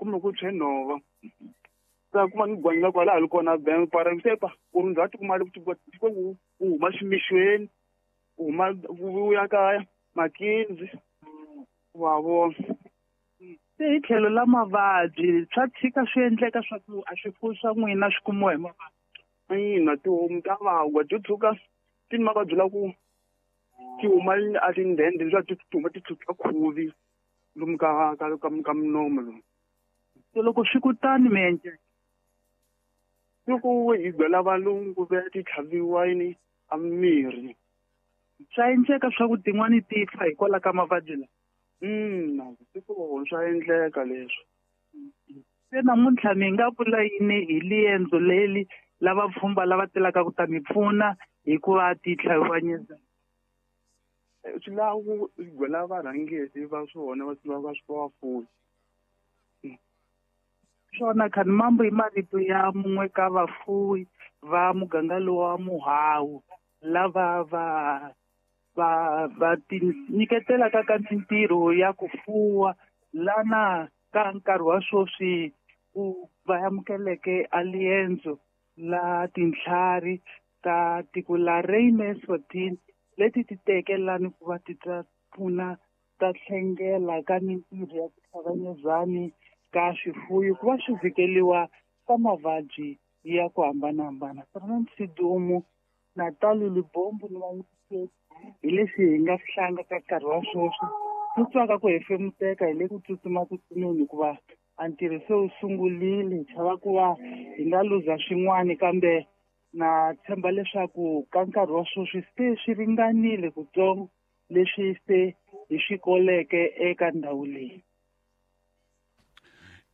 Kuma ku tshwe nhova. Ta kuma ni gwanyi la kwala hali kona bank para se pa ku ri ndzhaku kuma ku ku huma ximixweni u huma u ya kaya makinzi wa vona. Se hi tlhelo la mavabyi swa tshika swi endleka swa ku a swifuwo swa n'wina swi kumiwa hi mavabyi? Ina, tihomu ta vagwa ti tshuka ti ni mavabyi la ku ti huma a tindhende leswaku ti huma ti tshwutshwa khuvi lomu ka ka ka ka minomo lomu. Se loko swi ku tani mi endla loko hi byela valungu va ti tlhaviwa yini a mirhi. Swa endleka swa ku tin'wani ti fa hikwalaho ka mavabyi lawa? Ina, swi kona swa endleka leswo. Se namuntlha mi nga vula yini hi liendzo leri lava pfhumba lava telaka ku ta mi pfuna hi ku va ti tlhaviwa? Swi lava ku byela varhangeri va swona va va va vafuwi. Swona Khanimambo i marito ya mun'we ka vafuwi va muganga lowu wa Muhawu lava va va va ti nyiketelaka ka mintirho ya ku fuwa lana ka nkarhi wa sweswi ku va amukeleke a liendzo la tintlhari ta tiko la Reine Eswatini leti ti teke lani ku va ti ta pfuna ta tlhengela ka mintirho ya ku hlanganyezani ka swifuwo ku va swi vhikeliwa ka mavabyi ya ku hambanahambana. Fernand Sidumo, Natalie Libombo ni vayingiseri hi leswi hi nga swi hlanga ka nkarhi wa sweswi ku twaka ku hefemuteka hi le ku tsutsumatsutsumeni hikuva a ntirho se wu sungurile hi chava ku va hi nga luza swin'wana kambe na tshemba leswaku ka nkarhi wa sweswi se swi ringanile kutsongo leswi se hi swi koleke eka ndhawu leyi.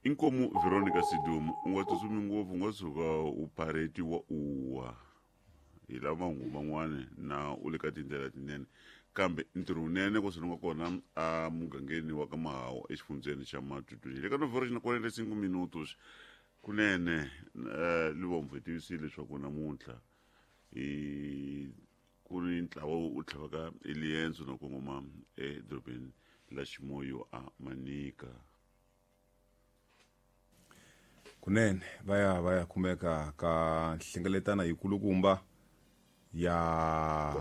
Inkomu Veronica Sidumo, u nga tsutsumi ngopfu u nga tshuka u pharetiwa u wa hi lava mahungu man'wana na u le ka tindlela tinene kambe ntirho wunene ku swi nga kona a mugangeni wa ka Mahawu exifundzeni xa Matutu le ka novhoro xi na kwanele 5 minutos kunene Livombo hi tivisile leswaku namuntlha hi ku ni ntlawa wu tlhavaka eliendzo na kongoma edorobeni la Ximoyo a Manika. Kunene va ya va ya kumeka ka nhlengeletana yikulukumba ya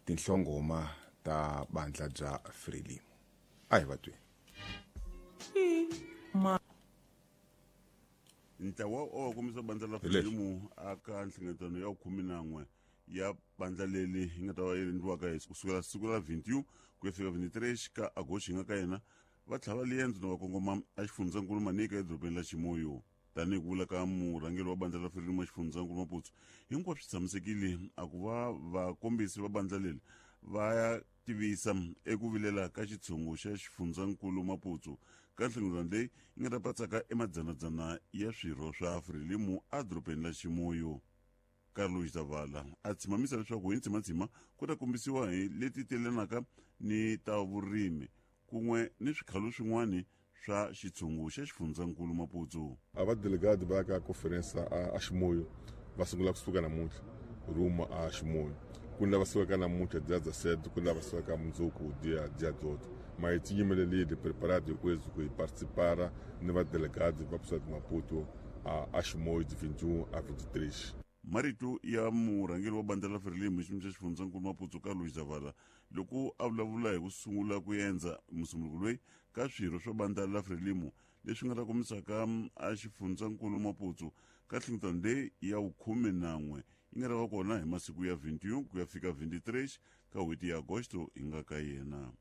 tinhlongoma ta bandla bya Frelimo. A hi va tweni. Ntlawa o kombisa bandla la Frelimo aka nhlengeletano ya 11 ya bandla leri yi nga ta va yi endliwaka hi kusukela siku ra 21 ku ya fika 23 ka Agosti hi nga ka yena va tlhava liendzo na va kongoma a xifundzankulu Manika edorobeni la Chimoio. Tanihi ku vula ka murhangeri wa bandla la Frelimo xifundzankulu Maputo, hinkwaswo swi tshamisekile a ku va vakombisi va bandla leri va ya tivisa eku vilela ka xitshungu xa xifundzankulu Maputo ka nhlengeletano leyi yi nga ta patsaka emadzanadzana ya swirho swa Frelimo edorobeni la Chimoio. Carlos Zavala a tshimamisa leswaku hi ntshimatshima ku ta kombisiwa hi leti telanaka ni ta vurimi kun'we ni swikhalo swin'wana swa xitshungu xa xifundzankulu Maputo. A va delegado va ya ka conference a Chimoio va sungula kusuka namuntlha ruma a Chimoio ku ni lava sukaka namuntlha dia 17 ku ni lava sukaka mundzuku dia dia 18 ma hi tinyimelelile preparado hinkweswo ku hi participara ni va delegado va kusuka Maputo a Chimoio de 21 a 23. Marito ya murhangeri wa bandla la Frelimo xiyimo xa xifundzankulu Maputo Carlos Zavala loko a vulavula hi ku sungula ku endza musumbuluko loyi ka swirho swa bandla la Frelimo leswi nga ta kombisaka a xifundzankulu Maputo ka nhlengeletano leyi ya 11 yi nga ta va kona hi masiku ya 21 ku ya fika 23 ka n'hweti ya Agosto hi nga ka yena.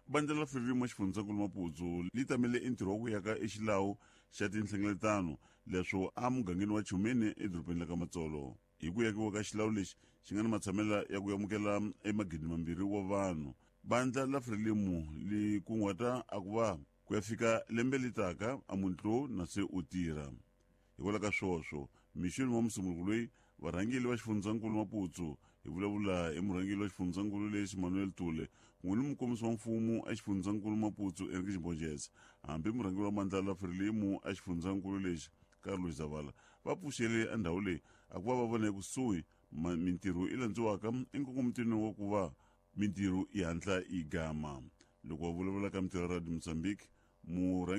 Bandla la Frelimo xifundzankulu Maputo li tamele entirho wa ku yaka exilawu xa tinhlengeletano leswo a mugangeni wa Chumeni edorobeni la ka Matsolo. Hi ku yakiwa ka xilawu lexi xi nga ni matshamela ya ku amukela emagidi mambirhi wa vanhu, bandla la Frelimo li kunguhata a ku va ku ya fika lembe li taka a muntlo na se u tirha. Hikwalaho ka swoswo, mixweni wa musumbuluko loyi varhangeri va xifundzankulu Maputo hi vulavula hi murhangeri wa xifundzankulu lexi Manuel Tule kun'we ni mukombisi wa mfumo exifundzankulu Maputo Enrique Borges hambi murhangeri wa bandla la Frelimo exifundzankulu lexi Carlos Zavala va pfuxele endhawu leyi a ku va va vona ekusuhi mintirho yi landziwaka enkongomitweni wa ku va mintirho yi hatla yi gama. Loko va vulavula ka mintirho ya Radio Mozambique murhangeri